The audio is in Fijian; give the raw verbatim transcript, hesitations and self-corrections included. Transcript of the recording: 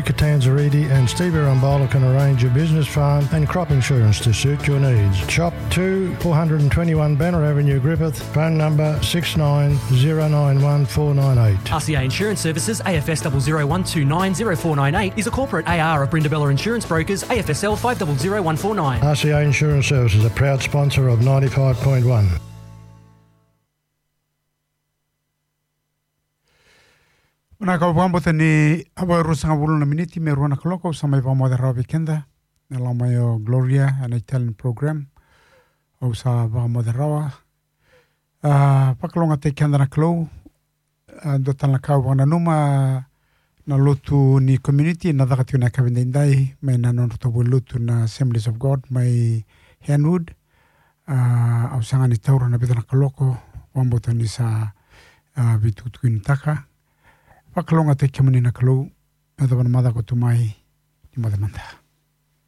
Catanzariti and Steve Arambala can arrange your business, farm and crop insurance to suit your needs. Shop two, four hundred and twenty-one Banner Avenue, Griffith. Phone number six nine zero nine one four nine eight. R C A Insurance Services, A F S double zero one two nine zero four nine eight, is a corporate A R of Brindabella Insurance Brokers, A F S L five double zero one four nine. R C A Insurance Services, a proud sponsor of ninety-five point one. Vinaka, au vakabauta ni a vakaruasagavulu na miniti me rua na kaloko, au sa mai vakamoce rawa vei keda na loma i o Gloria ena Italian program. Au sa vakamoce rawa. A, vakalougatataki keda na Kalou. A, dua tale na ka au vakananuma, na lotu ni community na caka tiko na yakavi daidai mai na nodratou vale ni lotu na Assemblies of God mai Hanwood. A, au sega ni taura na vica na kaloko, vakabauta ni sa, a, veitukutukunitaka. Vakalougatataki kemuni na Kalou, me yacova na macawa ka tu mai, ni moce mada.